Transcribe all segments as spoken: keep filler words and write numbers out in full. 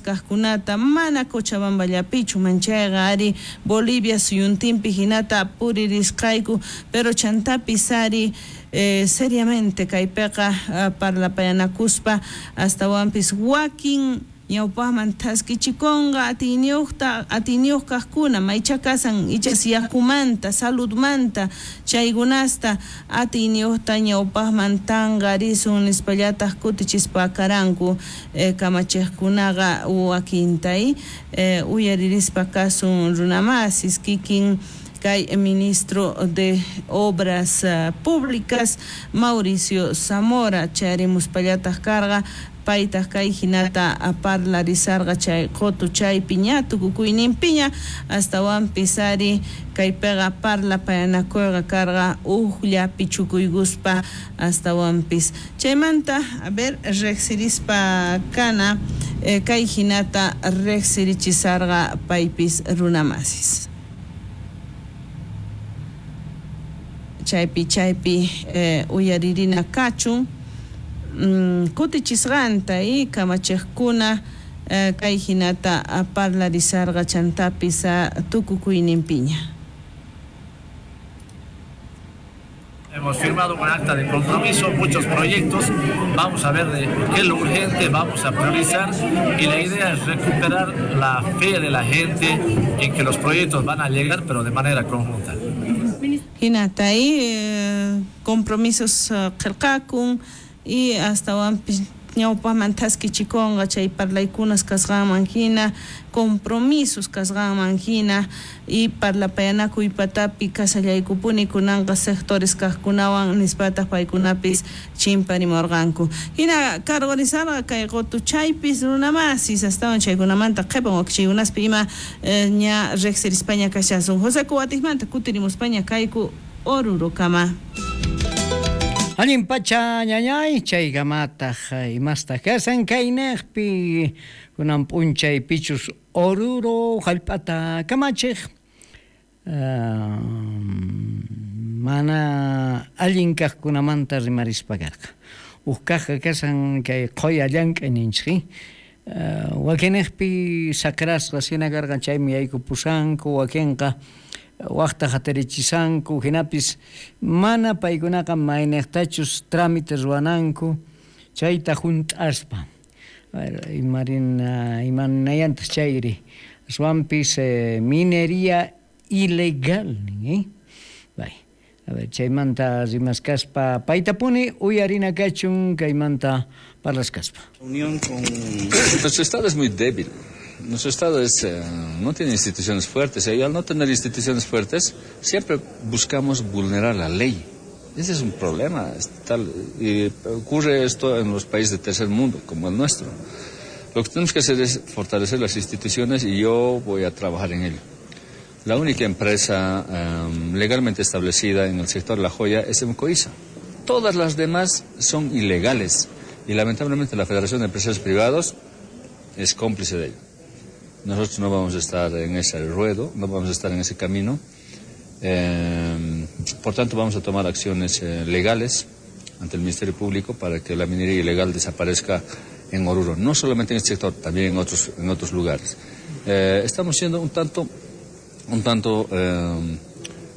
kajkunata mana Cochabamballapichu manchayqa ari Bolivia suyuntinpi hinata puririsqayku pero chantapis ari eh, seriamente kaypiqa uh, parlapayanakuspa astawanpis wakin ñawpaqman thaskichikunqa atiyniyuqta atiyniyuq kaqkuna maycha kasan ichas yakumanta saludmanta chaykunasta atiyniyuqta ñawpaqman tanqarisun nispallataq kutichispa karanku eh, kamachiqkunaqa wakintay eh, uyaririspa kasun runamasis kikin kay ministro de Obras uh, Públicas Mauricio Zamora chayarimuspallataq karqa paytaq kay hinata parlarisarqa chay qotu chaypi ña tukukuyninpiña astawanpis ari kaypiqa parlapayanakuyqa karqa ujllapi chukuykuspa astawanpis chaymanta a ver riqsirispa kana eh, kay hinata riqsirichisarqa paypis runamasis chaypi chaypi eh, uyaririna kachun mm, kutichisqanta y kamachiqkuna eh, kay hinata parlarisarqa chantapis tukukuyninpiña. Hemos firmado un acta de compromiso, muchos proyectos, vamos a ver de qué es lo urgente, vamos a priorizar y la idea es recuperar la fe de la gente en que los proyectos van a llegar, pero de manera conjunta. Hinata y eh, compromisos qillqakun y astawanpis ñawpaqman thaskichikunqa chay parlaykunas kasqanman hina compromisos kasqanman hina y parlapayanakuy patapi kasallaykupuni kunanqa sectores kaqkunawan nispataq paykunapis chimparimurqanku hina cargorizarqa kay qutuchaypis runamasis astawan chaykunamanta qhipan wakichiykunaspi ima eh, ña riqsirispaña kashasun José Cubatismanta kutirimuspaña kayku Orurokama. Allin pacha ñañay chaykamataq imastaq kasan kaynaqpi kunan p'unchay pichus Oruro hallp'ata kamachiq uh, mana allin kaqkunamanta rimarispa karqa uj kaqqa kasan kay qhuya llank'ay ninchik uh, wakinaqpi saqrasqa hina karqan chaymi yaykupusanku wakinqa waqta hatarichisanku hinapis mana paykunaqa mayniqtachus trámite ruwananku chayta hunt'aspa imarina imanayantaq chayri aswanpis eh, minería ilegal nin eh? Bay a ver chaymanta rimaskaspa paytapuni uyarina kachun kaymanta parlaskaspa. Unión con nuestro estado es muy débil. Nuestro Estado es, eh, no tiene instituciones fuertes, y al no tener instituciones fuertes, siempre buscamos vulnerar la ley. Ese es un problema. Es tal, y ocurre esto en los países de tercer mundo, como el nuestro. Lo que tenemos que hacer es fortalecer las instituciones y yo voy a trabajar en ello. La única empresa eh, legalmente establecida en el sector de la joya es Emcoisa. Todas las demás son ilegales y lamentablemente la Federación de Empresarios Privados es cómplice de ello. Nosotros no vamos a estar en ese ruedo, no vamos a estar en ese camino. Eh, por tanto, vamos a tomar acciones eh, legales ante el Ministerio Público para que la minería ilegal desaparezca en Oruro, no solamente en este sector, también en otros, en otros lugares. Eh, estamos siendo un tanto, un tanto eh,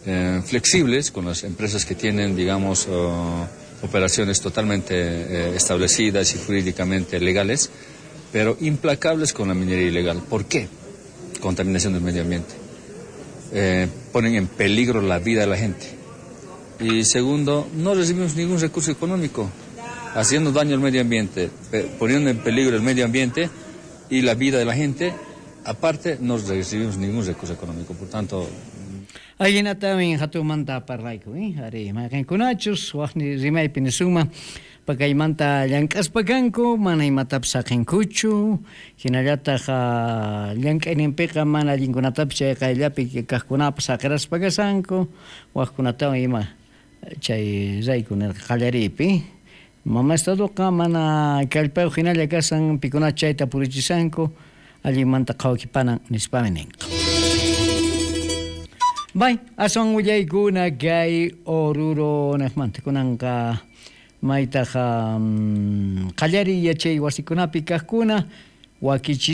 eh, flexibles con las empresas que tienen, digamos, eh, operaciones totalmente eh, establecidas y jurídicamente legales, pero implacables con la minería ilegal. ¿Por qué? Contaminación del medio ambiente. Eh, ponen en peligro la vida de la gente. Y segundo, no recibimos ningún recurso económico, haciendo daño al medio ambiente, poniendo en peligro el medio ambiente y la vida de la gente. Aparte, no recibimos ningún recurso económico. Por tanto... Ayinatamin hatumanta parlayku, eh? Ari, mayqinkunachus, waqni rimaypi nisuma, pakaymanta llank'aspa kanku, mana imatapis saqinkuchu, hinallataq llank'ayninpiqa mana allinkunatapis chay qayllapi kaqkunapas saqiraspa kasanku, waqkunatawan ima chay rayku nirqa qallariypi. Mama estadoqa mana kallpayuq hinalla kasan, pikuna chayta purichisanku, allinmanta qhawakipanan nispami ninqa. Bay, aswan willaykuna kay Oruro naqmanta kunanqa maytaqa qallariy yachay wasikunapi kaqkuna wakichisqa